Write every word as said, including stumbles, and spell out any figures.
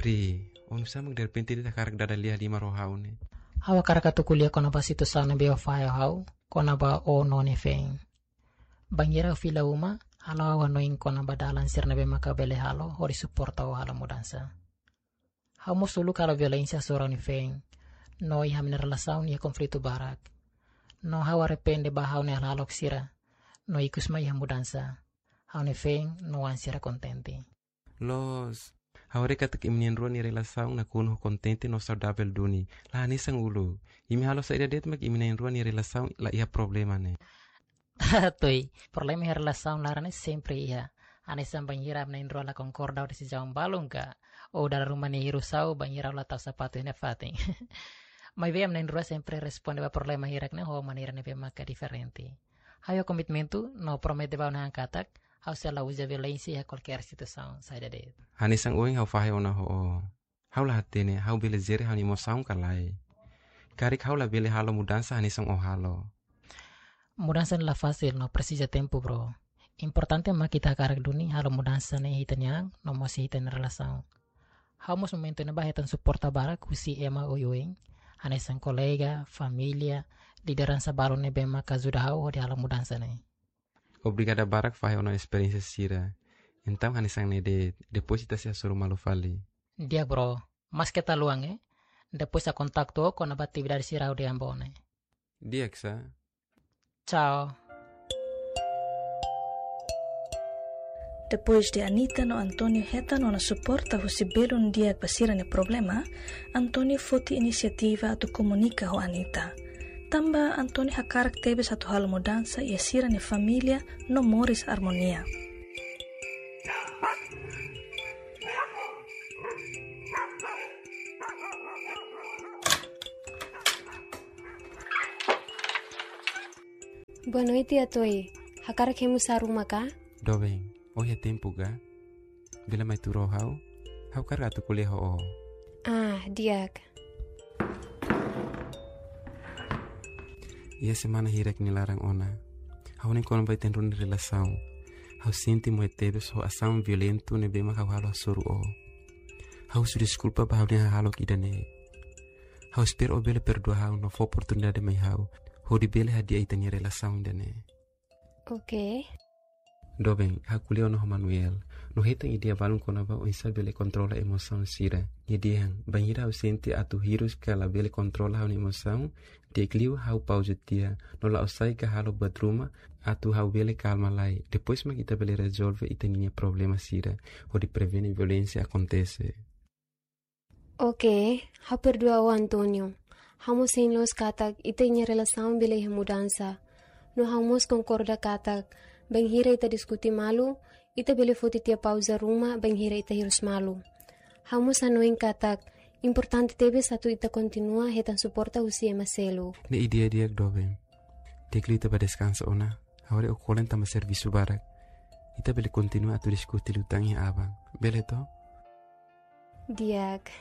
Ri, oinsá mak derrepente de'it hakarak dada lia liman ho ha'u ne'e? Ha'u hakarak atu ko'alia kona-ba situasaun ne'ebé o fahe ha'u, kona-ba ó no ó-nia feen. Bainhira ha'u fila uma, halo ha'u hanoin kona-ba dalan sira ne'ebé maka bele halo, hodi suporta ó halo mudansa. Ha'u mós uluk halo violénsia hasoru ha'u-nia feen. No iha ha'u-nia relasaun iha konflitu barak. No ha'u arrepende ba ha'u-nia hahalok sira. No ikus mai iha mudansa. Ha'u-nia feen no oan sira kontente. Loos, ha'u haree katak imi na'in-rua nia relasaun nakonu ho kontente no saudavel duni. La hanesan uluk. Imi halo saida de'it mak imi na'in-rua nia relasaun la iha problema ne'e? Tuir, problema iha relasaun laran ne'e sempre iha. Hanesan bainhira ami na'in-rua la konkorda ho desizaun balun ka, ou dala ruma nia hirus ha'u bainhira ha'u la tau sapatu iha nia fatin. Maibé ami na'in-rua sempre responde ba problema hirak ne'e ho maneira ne'ebé maka diferente. Ha'u iha komitmentu no promete ba ó-nia an katak, ha'u sei la uza violénsia iha kualkér situasaun saida de'it. Hanesan ohin ha'u fahe ona ho ó. Ha'u la hatene, ha'u bele jere ha'u-nia emosaun ka lae. Karik ha'u labele halo mudansa hanesan ó halo. Mudansa ne'e la fasil no presiza tempu, bro. Importante mak ita hakarak duni halo mudansa ne'e iha ita-nia an, no mós iha ita-nia relasaun. Ha'u mós momentu ne'ebá hetan suporta barak husi ema oioin, hanesan kolega, família, lideransa balun ne'ebé maka ajuda ha'u hodi halo mudansa ne'e. Obrigada barak fahe ona esperiénsia sira. Entaun hanesan ne'e de'it, depois ita sei hasoru malu fali. Di'ak bro, mas keta haluha, eh? Depois ha'u kontaktu ó kona-ba atividade sira ha'u dehan ba ó ne'e. Di'ak sá. Tchau. Depois de Anita no António hetan ona suporta husi belun di'ak ba sira-nia problema, António foti inisiativa atu komunika ho Anita. Tanba António hakarak tebes atu halo mudansa iha sira-nia família no moris armonia. Boa noite, Atoi. Hakarak hemu sa'e ruma ka? Doben, ó iha tempu ka? Bele mai tuur ho ha'u? Ha'u hakarak atu ko'alia ho ó. Ah, di'ak. Iha semana hirak nia laran ona, ha'u hanoin kona-ba ita na'in-rua nia relasaun. Ha'u sente moe tebes ho asaun violentu ne'ebé mak ha'u halo hasoru ó. Ha'u husu deskulpa ba ha'u-nia hahalok ida-ne'e. Ha'u espera ó bele perdua ha'u no fó oportunidade mai ha'u, hodi bele hadi'a ita-nia relasaun ida-ne'e. Oke. Doben, ha'u ko'alia ona ho Manuel. No hetan ideia balun kona-ba oinsá bele kontrola emosaun sira. Nia dehan, bainhira ha'u sente atu hirus ka labele kontrola ha'u-nia emosaun, di'ak liu ha'u pauza tiha, no la'o sai ka halo buat ruma, atu ha'u bele kalma lai. Depois mak ita bele rezolve ita-nia problema sira, hodi prevene violénsia akontese. Oke, ha'u perdua ó, António. Ha'u mós hein loos katak ita-nia relasaun bele iha mudansa. No ha'u mós konkorda katak, bainhira ita diskute malu, ita bele foti tiha pauza ruma, bainhira ita hirus malu. Ha'u mós hanoin katak, importante tebes atu ita kontinua hetan suporta husi ema seluk. Ne'e ideia di'ak, doben. Di'ak liu ita bá deskansa ona. Ha'u haree ó kolen tanba servisu barak. Ita bele kontinua atu diskute liután iha aban. Bele to? Di'ak.